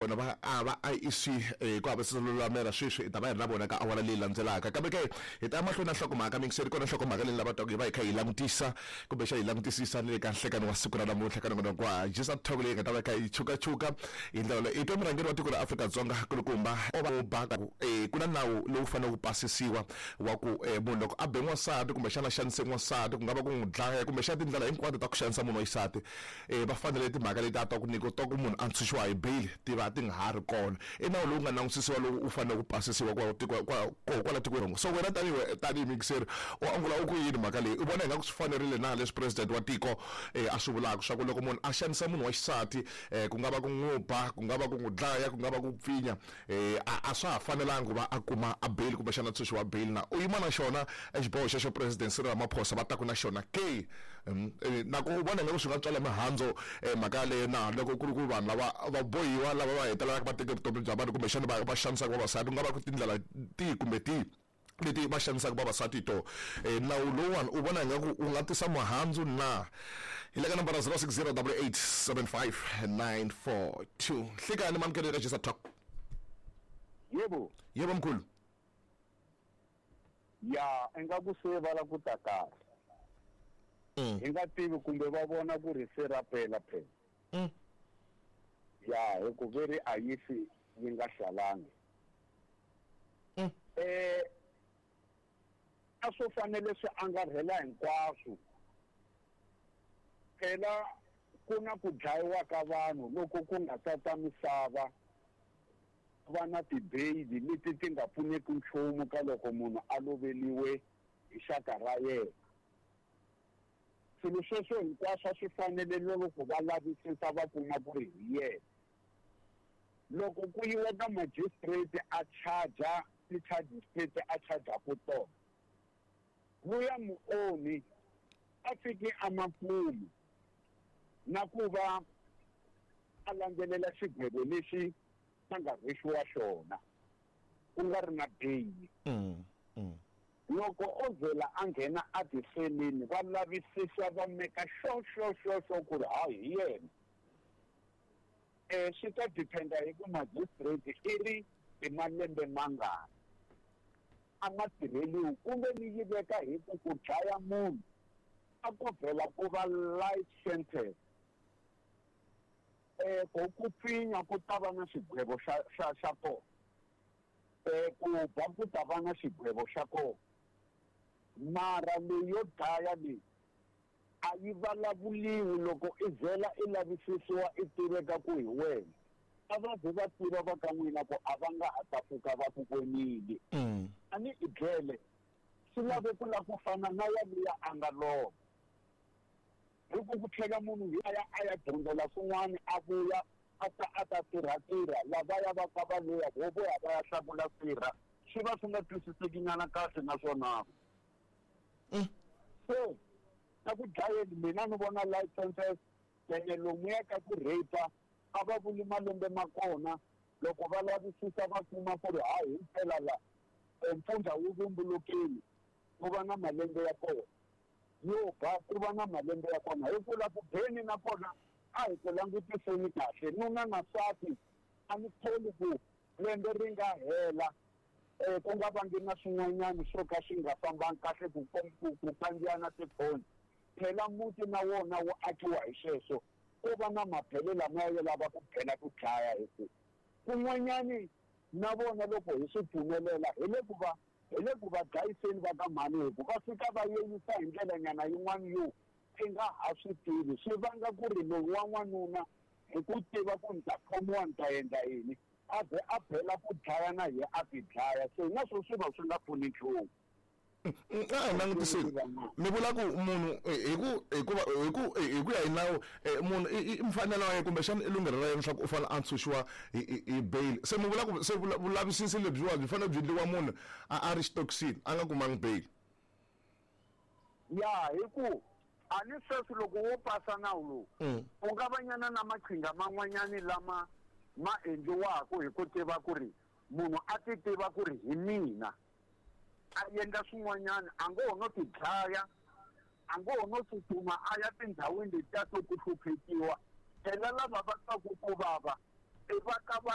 Vona va a va IEC ku hava lulamela sweswi hi ta va hi ri na vona ka awara leyi landzelaka. Kambe ke hi ta ya mahlweni na nhlokomhaka miyingiseri, kona nhlokomhaka leyi lava twaku hi va hi kha hi langutisa kumbexana hi langutisisa ni le ka nhlekani wa siku ra namuntlha ka nongonoko wa Jisa Talk leyi nga ta va kha yi chukachuka hi ndlela leyi. Hi twa murhangeri wa tiko ra Afrika-Dzonga kulukumba o ba ku ku na nawu lowu faneleke ku pasisiwa wa ku munhu loko a be n'wansati kumbexana a xanise n'wansati ku nga va ku n'wi dlaya kumbexana tindlela hinkwato ta ku xanisa munhu wa xisati va fanele timhaka leti a ta ku nyika ta ku munhu a ntshunxiwa hi bail ti va ti nga ha ri kona. I nawu lowu nga langusisiwa lowu wu fanele ku pasisiwa kwa tiko kwa koho kwala tikweni. So wena tanihi tanihi muyingiseri u angula u ku yini mhaka leyi? U vona ingaku swi fanerile na leswi president wa tiko a swi vulaka swa ku loko munhu a xanisa munhu wa xisati ku nga va ku n'wi ba, ku nga va ku n'wi dlaya, ku nga va ku pfinya a swa ha fanelanga ku va a kuma a bail kumbexana ntshunxo wa bail na? U yima na xona xiboho xexo president Cyril Ramaphosa va taku na xona ke? Na ku u vona ingaku swi nga tswala mihandzu mhaka yaleyo na loko ku ri ku vanhu lava va bohiwa lava va hetelelaka va teke vutomi bya vanhu kumbexana va xanisaka vavasati ku nga va ku tindlela tihi kumbe tihi leti va xanisaka vavasati hi tona? Nawu lowuwani u vona ingaku wu nga tisa mihandzu na? Hi le ka nambara 060 88 75 942. Nhlikani mamukelo eka Jisa Talk. Yebo. Yebo mkhulu. Ya, ingaku se va la ku ta kahle. Hi nga tivi kumbe va vona ku ri se ra pela phela. Ya, hi ku ve ri a yi fi yi nga hlalanga. A swo fanele swi angarhela hinkwaswo. Phela ku na ku dlayiwa ka vanhu loko ku nga tata misava va na ti-bail leti ti nga pfuneki nchumu ka loko munhu a loveliwe hi xaka ra yena. Swilo sweswo hinkwaswo a swi fanele loko va lavisisa va kuma ku ri hi yena. Loko ku yiwa ka magistrate a charge ti-charges leti a charge-aku tona, luya muonhi a fiki a makumu na ku va a landzelela xigwevo lexi a nga rhwexiwa xona ku nga ri na bail. Loko o vhela a nghena a tiseleni va lavisisa va meka xo xo xo xo ku ri hayi hi yena. Swi ta dependa hi ku magistrate i ri i malembe mangani a ma tirheliwi kumbe ni yi veka hi ku ku dlaya munhu a ko vhela ku va life sentence. Ku ku pfinya ku ta va na xigwevo xa xa xa kona. Ku ba ku ta va na xigwevo xa kona. Mara leyi yo dlaya leyi a yi vulavuliwi loko i vhela i lavisisiwa i tiveka ku hi wena. A va ze va tiva va ka n'wina ku a va nga ha ta pfuka va ku vonile. A ni i dlele swi lave ku la ku fana na yaliya a nga lova. Hi ku ku tlhela munhu a ya a ya dyondzela swin'wana a vuya a ta a ta tirha tirha lavaya va ka va luya vo vuya va ya hlakula sirha swi va swi nga twisiseki nyana kahle naswona. Se ka ku dlayeni mina ni vona life sentence ene lomuya ka ku rape a va vuli malembe ma kona loko va lavisisa va kuma ku ri hayi himpela la mpfundla wu vumbulukile ku va na malembe ya kona yo ba ku va na malembe ya kona. Hi ku la ku beni na kona a hi ku langutiseni kahle nuna na nsati a ni tholi ku lembe ri nga hela ku nga vangi na swin'wanyana swo ka swi nga fambangi kahle ku ku kandziyana tiphoni. Phela muti na wona wu akiwa hi sweswo ko va na mabele lamaya yo lava ku bela ku dlaya hi ku kun'wanyani na vona loko hi swi pfumelela hi le ku va hi le ku va dlayiseni va ka mhani hi ku va fika va yeyisa hi ndlela nyana yin'wana yo i nga ha swi tivi swi vanga ku ri loyi wa n'wanuna hi ku tiva ku ni ta khomiwa ni ta endla yini a ze a bela ku dlaya na ye a ti dlaya se na swo swi va swi nga pfuni nchumu. A hi langutiseni mi vula ku munhu hi ku hikuva hi ku hi ku ya hi nawu munhu i mfanelo wa yena kumbexana i lunghelo ra yena leswaku u fanele a ntshunxiwa hi bail. Se mi vula ku se vulavisisi lebyiwa byi fanele byi endliwa munhu a ri xitokisini a nga kumangi bail. Ya hi ku a ni sweswi loko wo pasa nawu lowu u nga va nyana na maqhinga man'wanyani lama ma endliwaka hi ku tiva ku ri munhu a ti tiva ku ri hi mina a endla swin'wanyana a ngo ho no ti dlaya a ngo ho no tsutsuma a ya tindhawini letiya to ku hluphekiwa phela lava va twaku ku vava i va ka va.